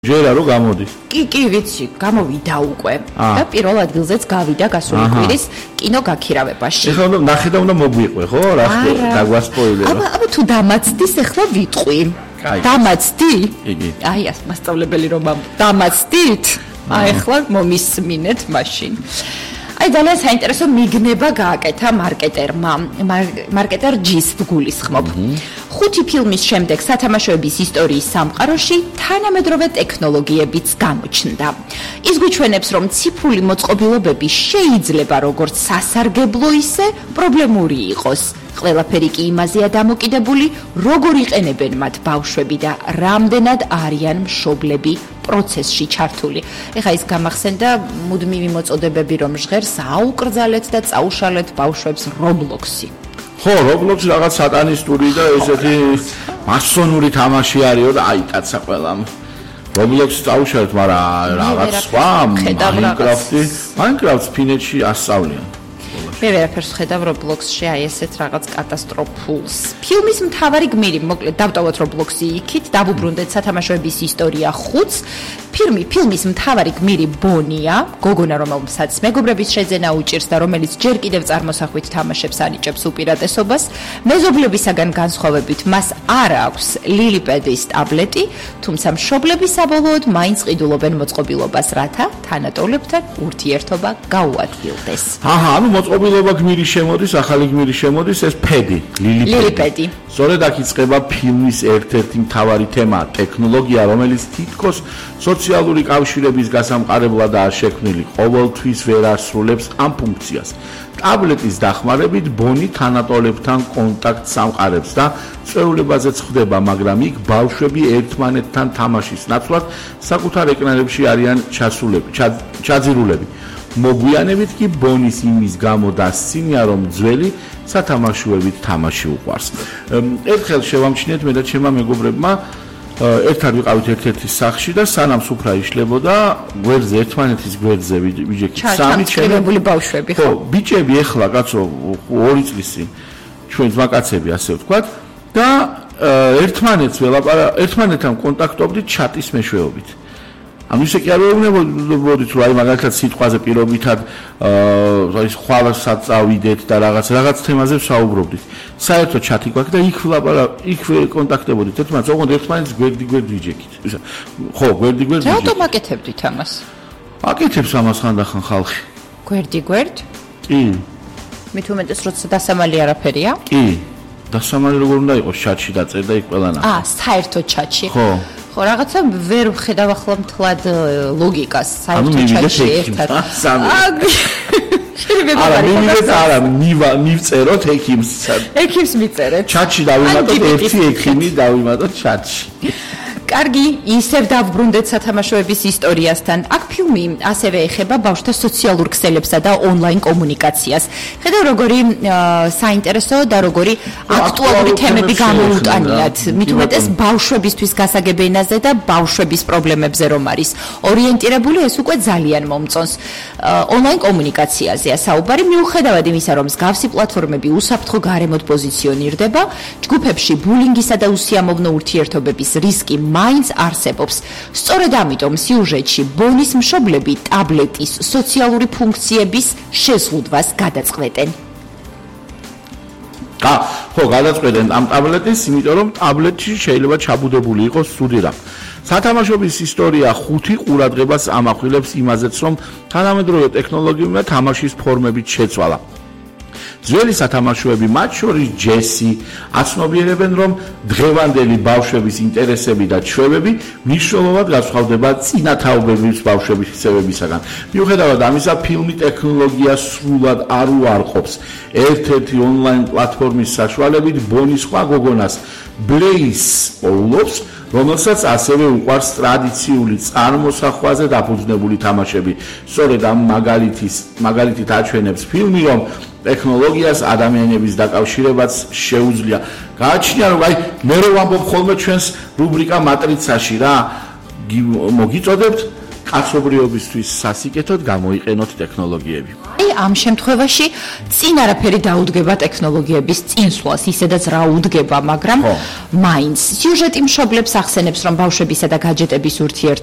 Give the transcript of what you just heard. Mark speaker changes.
Speaker 1: ჯერა რო გამოდის.
Speaker 2: კი, ვიცი, გამოვიდა უკვე. და პირველ ადგილზეც გავიდა გასული კვირის კინო გაქირავებაში.
Speaker 1: ეხლა ნახე და უნდა მოგვიყვე, ხო? რა დაგვასპოილერო.
Speaker 2: აბა თუ დამაცდის, ეხლა ვიტყვი. დამაცდი?
Speaker 1: იგი.
Speaker 2: აი, მასწავლებელი რომ დამაცდით? აი, ეხლა მომისმინეთ მაშინ. აი ძალიან საინტერესო მიგნება გააკეთა მარკეტერმა. მარკეტერ ჯის გულისხმობ. 5 ფილმის შემდეგ სათამაშოების ისტორიის სამყაროში თანამედროვე ტექნოლოგიებიც გამოჩნდა. ის გვიჩვენებს, რომ ციფრული მოწყობილობები შეიძლება როგორც სასარგებლო, ისე პრობლემური იყოს. ყველაფერი კი იმაზეა დამოკიდებული, როგორ იყენებენ მათ ბავშვები და რამდენად არიან მშობლები პროცესში ჩართული. ეხა ის გამახსენდა მუდმივი მოწოდებები, რომ ჟღერს აუკრძალეთ და წაუშალეთ ბავშვებს Roblox-ი.
Speaker 1: ხო, Roblox რაღაც სატანისტური და ესეთი მასონური თამაში არისო და აი კაცა ყველამ. Roblox-ი წაუშალეთ, მაგრამ რაღაც სხვა Minecraft-ს ფინეთში ასწავლიან.
Speaker 2: მე ვერაფერს ხედავ Roblox-ში აი ესეთ რაღაც კატასტროფულს. ფილმის მთავარი გმირი, მოკლედ დავტოვოთ Roblox-ი იქით, დავუბრუნდეთ სათამაშოების ისტორია 5-ს. ფილმის მთავარი გმირი ბონია, გოგონა, რომელსაც მეგობრების შეძენა უჭირს და რომელიც ჯერ კიდევ წარმოსახვით თამაშებს ანიჭებს უპირატესობას. მეზობლებისაგან განსხვავებით მას არ აქვს ლილიპედის ტაბლეტი, თუმცა მშობლები საბოლოოდ მაინც ყიდულობენ მოწყობილობას, რათა თანატოლებთან ურთიერთობა გაუადგილდეს.
Speaker 1: ანუ მოწყობილობა გმირი შემოდის, ახალი გმირი შემოდის, ეს ფედი, ლილიპედი. სწორედ აქ იწყება ფილმის ერთ-ერთი მთავარი თემა, ტექნოლოგია, რომელიც თითქოს სოციალური კავშირების გასამყარებლადაა შექმნილი, ყოველთვის ვერ ასრულებს ამ ფუნქციას. ტაბლეტის დახმარებით ბონი თანატოლებთან კონტაქტს ამყარებს და წვეულებაზეც ხდება, მაგრამ იქ ბავშვები ერთმანეთთან თამაშის ნაცვლად საკუთარ ეკრანებში არიან ჩაძირულები. მოგვიანებით კი ბონის იმის გამო დასცინია, რომ ძველი სათამაშოებით თამაში უყვარს. ერთხელ შევამჩნიეთ მე და ჩემმა მეგობრებმა ერთად ვიყავით ერთ-ერთი სახლში და სანამ სუფრა იშლებოდა, გვერდზე ერთმანეთის გვერდზე ვიჯექით სამი
Speaker 2: ჩამოწყებული ბავშვები,
Speaker 1: ხო, ბიჭები ეხლა კაცო 2 წლის წინ ჩვენ ძმაკაცები ასე ვთქვათ და ერთმანეთთან კონტაქტობდით ჩატის მეშვეობით. ანუ ისე კი არ ვეუბნებოდით, რომ აი მაგალითად სიტყვაზე პირობითად ის ხვალასაც წავიდეთ და რაღაც თემაზე ვსაუბრობდით. საერთოდ ჩათი გვაქვს და იქ კონტაქტებოდით ერთმანეთს, ოღონდ ერთმანეთს გვერდი ვიჯექით. ხო, გვერდი ვიჯექით.
Speaker 2: რატომ აკეთებდით ამას?
Speaker 1: აკეთებს ამას ხანდახან ხალხი.
Speaker 2: გვერდი?
Speaker 1: კი.
Speaker 2: მით უმეტეს როცა დასამალი არაფერია?
Speaker 1: კი. დასამალი როგორ უნდა იყოს, ჩატში დაწერდა იქ ყველანაირად.
Speaker 2: საერთოდ ჩატში.
Speaker 1: ხო.
Speaker 2: ხო, რაღაცა ვერ ვხედავ ახლა მთლად ლოგიკას, საერთოდ ჩატში ერთად.
Speaker 1: არა, მივწეროთ ექიმს.
Speaker 2: ექიმს მიწერეთ.
Speaker 1: ჩატში დავიმატოთ ერთი ექიმი, დავიმატოთ ჩატში.
Speaker 2: კარგი, ისევ დავბრუნდეთ სათამაშოების ისტორიასთან. აქ ფილმი ასევე ეხება ბავშვთა სოციალურ ქსელებსა და ონლაინ კომუნიკაციას. ხედავ როგორი საინტერესო და როგორი აქტუალური თემები გამოუტანიათ. მით უმეტეს ბავშვებისთვის გასაგებ ენაზე და ბავშვების პრობლემებზე რომ არის ორიენტირებული, ეს უკვე ძალიან მომწონს. ონლაინ კომუნიკაციაზეა საუბარი, მიუხედავად იმისა, რომ მსგავსი პლატფორმები უსაფრთხო გარემოდ პოზიციონირდება, ჯგუფებში ბულინგისა და უსიამოვნო ურთიერთობების რისკი მაინც არსებობს. სწორედ ამიტომ სიუჟეტში ბონის მშობლები ტაბლეტის სოციალური ფუნქციების შეზღუდვას გადაწყვეტენ.
Speaker 1: ხო, გადაწყვეტენ ამ ტაბლეტის, იმიტომ რომ ტაბლეტში შეიძლება ჩაბუდებული იყოს ცუდი რამ. სათამაშოების ისტორია 5 ყურადღებას ამახვილებს იმაზეც, რომ თანამედროვე ტექნოლოგიებმა თამაშის ფორმებით შეცვალა. ძველი სათამაშოები, მათ შორის ჯესი, აცნობიერებენ, რომ დღევანდელი ბავშვების ინტერესები და ჩვევები მნიშვნელოვნად განსხვავდება წინათაობების ბავშვების ხსევებისაგან. მიუხედავად ამისა, ფილმი ტექნოლოგიას სრულად არ უარყოფს. ერთ-ერთი ონლაინ პლატფორმის საშუალებით ბონი სხვა გოგონას ბლეის პოულობს, რომელსაც ასევე უყვარს ტრადიციული წარმოსახვაზე დაფუძნებული თამაშები. სწორედ ამ მაგალითით აჩვენებს ფილმი, რომ ტექნოლოგიას ადამიანების დაკავშირებაც შეუძლია. გააჩნია, რომ აი მე რო ვამბობ ხოლმე ჩვენს რუბრიკა მატრიცაში რა, მოგიწოდებთ კაცობრიობისთვის სასიკეთოდ გამოიყენოთ ტექნოლოგიები.
Speaker 2: აი ამ შემთხვევაში წინ არაფერი დაუდგება ტექნოლოგიების წინსვლას, ისედაც რა უდგება, მაგრამ მაინც სიუჟეტი მშობლებს ახსენებს, რომ ბავშვებისა და გაჯეტების ურთიერთობა